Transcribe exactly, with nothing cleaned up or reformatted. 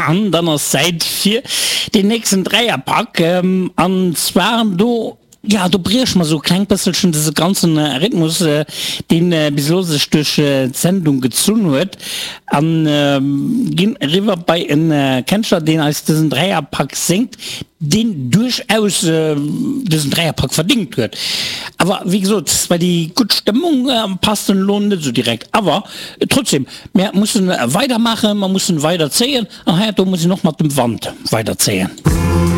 An dann ass Zäit fir deen nächsten Dräierpak. An zwar do, jo, do brieche mer sou e klengt bësselchen dëse ganzen Rhythmus, deen bis elo sech duerch d'Sendung gezunn huet, an ginn eriwwer bei e Kenschtler, deen eis dësen Dräierpak séngt, deen duerchaus dësen Dräierpak verdingt huet. Awer wéi gesot, bei déi gutt Stëmmung passt en elo net esou direkt. Awer trotzdem, mär mussen weidermaachen, mer mussen weiderzéien an heiansdo muss een och mat dem Wand weiderzéien.